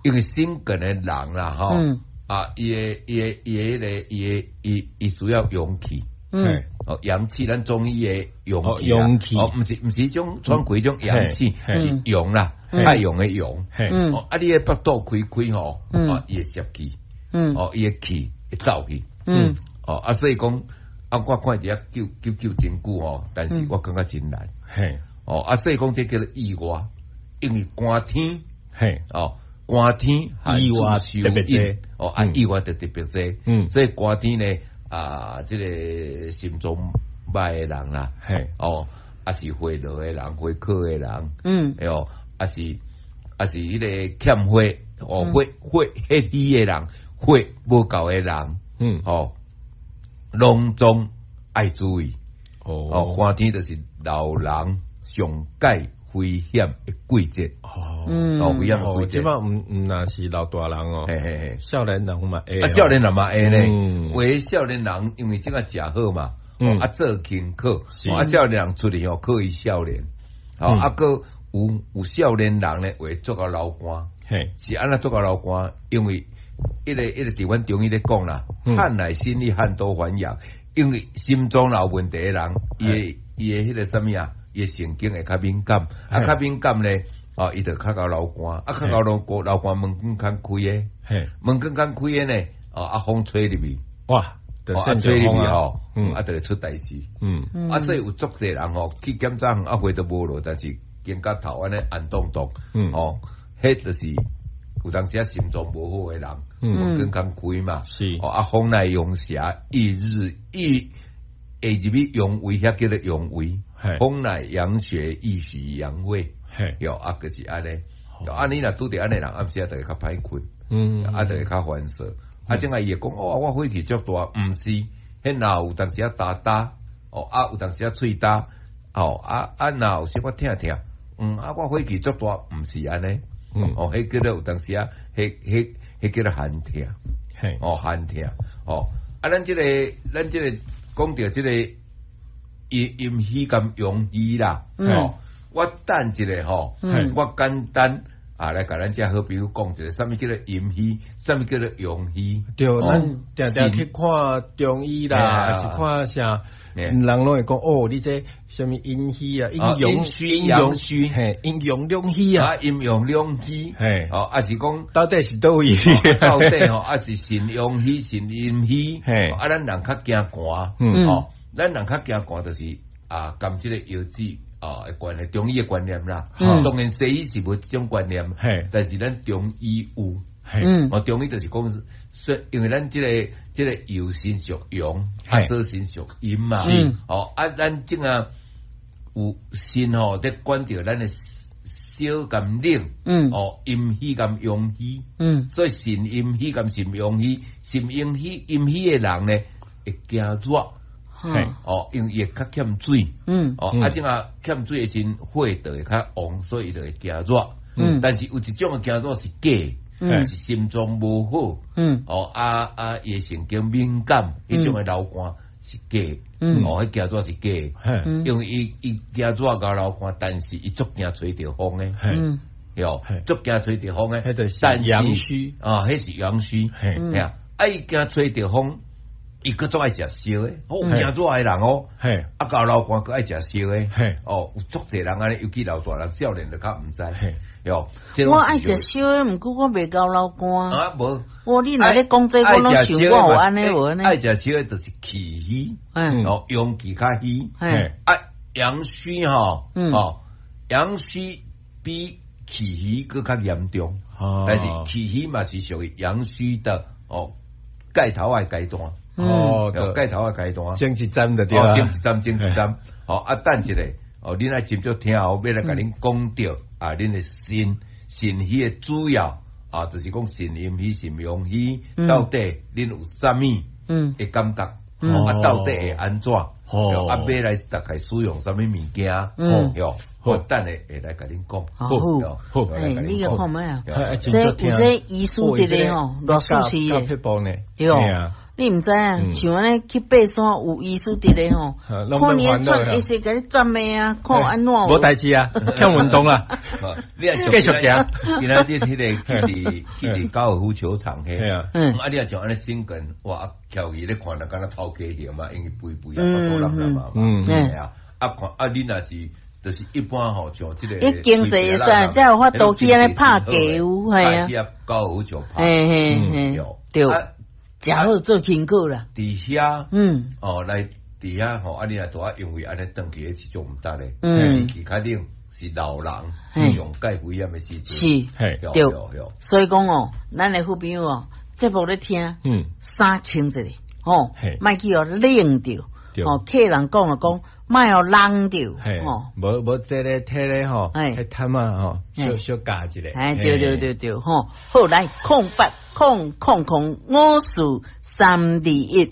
因為心梗的人啦，吼，啊，伊的伊的伊的彼个伊的伊伊需要陽氣，哦，陽氣，咱中醫的陽氣，陽氣，哦，毋是彼種喘氣種陽氣，是陽啦，太陽的陽，哦，啊，你的腹肚開開吼，哦，伊會攝氣，哦，伊的氣會走去，哦，啊，所以講，啊，我看佇遐救救救真久吼，但是我感覺真難，哦，啊，所以講這叫做意外，因為寒天，哦。寒天意外特別濟，哦，啊，意外就特別濟，所以寒天呢，啊，這个心臟歹的人啦，哦，啊是血落的人，血渴的人，哎喲，啊是彼个欠血，哦，血血血虛的人，血無夠的人，哦，攏總愛注意，哦，寒天就是老人上蓋危險的季節，哦，哦，危險的季節。這擺毋若是老大人哦，嘿嘿嘿，少年人嘛會，啊，少年人嘛會呢。有的少年人因為這個食好嘛，啊做輕課，啊少年人出去哦，可以少年，哦，啊閣有少年人咧會足夠流汗，是按怎足夠流汗？因為一個佇阮中醫咧講啦，汗乃心力，汗多還陽，因為心臟有問題的人，伊的彼个啥物啊？伊神經會較敏感，啊，較敏感咧，哦，伊就較𠢕流汗，啊，較𠢕流汗，流汗門管較開的，門管較開的呢，哦，啊，風吹入去，哇，啊，吹入去吼，啊，就會出代誌，啊，所以有足濟人吼去檢查，啊，血都無落，但是肩胛頭按呢紅動動，哦，彼就是有當時啊心臟無好的人，門管較開嘛，哦，啊，風乃陽邪，一日一。會入去陽胃，遐叫做陽胃。風乃陽穴，易虛陽胃。喲，啊，就是按呢。啊，你若拄著按呢人，暗時啊，就會較歹睏。啊，就會較煩躁。啊，這下伊會講，哦，我火氣足大，毋是，彼若有當時啊焦焦，哦，啊，有當時啊喙焦，哦，啊啊，若有小可疼疼，啊，我火氣足大，毋是按呢。哦，彼叫做有當時啊，彼叫做寒疼。哦，寒疼。哦，啊，咱這个。講著這个陰陰虛佮陽虛啦，吼，我等一下吼，我簡單啊來共咱遮好朋友講一下，啥物叫做陰虛，啥物叫做陽虛。對，咱定定去看中醫啦，還是看啥，人攏會講哦，你這啥物陰虛啊，陰陽虛陽虛，嘿，陰陽兩虛啊，陰陽兩虛，嘿，哦，啊是講到底是佗位？到底吼，啊是腎陽虛、腎陰虛，嘿，啊，咱人較驚寒，哦，咱人較驚寒就是啊，佮這个藥劑啊的關係，中醫的觀念啦，當然西醫是無這種觀念，但是咱中醫有，哦，中醫就是講，說因為咱這個右腎屬陽，啊左腎屬陰嘛，哦，啊，咱這個有腎吼，佇管著咱的燒佮冷，哦，陰虛佮陽虛，所以腎陰虛佮腎陽虛，腎陰虛陰虛的人呢，會驚熱。哦，因為伊會較欠水，哦，啊，這個欠水的時陣，火就會較旺，所以伊就會驚熱。但是有一種的驚熱是假，是心臟無好，哦，啊啊，伊的神經敏感，彼種的流汗是假，哦，彼驚熱是假，因為伊驚熱佮流汗，但是伊足驚吹著風的，喲，足驚吹著風的，彼就是陽虛，啊，彼是陽虛，嘿啊，啊，伊驚吹著風。伊閣足愛食燒的，哦，驚熱的人哦，啊，𠢕流汗閣愛食燒的，哦，有足濟人按呢，尤其老大人、少年就較毋知，喲。我愛食燒的，毋過我袂𠢕流汗。啊，無。我你若咧講這，我攏想我有按呢無按呢。愛食燒的就是氣虛，哦，陽氣較虛，啊，陽虛吼，哦，陽虛比氣虛閣較嚴重，但是氣虛嘛是屬於陽虛的哦，蓋頭的階段。哦，蓋頭的階段，前一站就對啦，前一站，前一站。哦，啊，等一下，哦，恁愛斟酌聽哦，欲來共恁講著啊，恁的腎腎虛的主要啊，就是講腎陰虛、腎陽虛，到底恁有啥物的感覺？啊，到底會按怎？哦，啊，欲來大概使用啥物物件？喲，我等下會來共恁講。好，好，欸，你個看覓啊？這有這醫師佇咧吼，偌舒適的，對。你毋知啊？像按呢去爬山有醫師佇咧吼，看你喘，伊是共你站的啊，看按怎？無代誌啊，欠運動啦。你繼續行。今仔日彼個去佇高爾夫球場彼，啊你若像按呢整根，哇，翹起咧看，就敢若頭家型嘛，因為肥肥啊，肚腩腩嘛，係啊，啊看啊你若是就是一般吼，像這個，伊經濟會使，才有法度去按呢拍球，係啊，高爾夫球拍，嘿嘿嘿，對。食好做輕功啦，佇遐，哦，來佇遐吼，啊，你若拄仔因為按呢轉去，彼是足毋值咧，其較冷是老人上蓋危險的時陣，是，對，所以講哦，咱的好朋友哦，節目咧聽，衫穿一下，吼，莫去予冷著，哦，客人講就講，莫予冷著，吼，無無這个體咧吼，彼毯仔吼，小小加一下，哎，對對對對，吼，好來0800054321。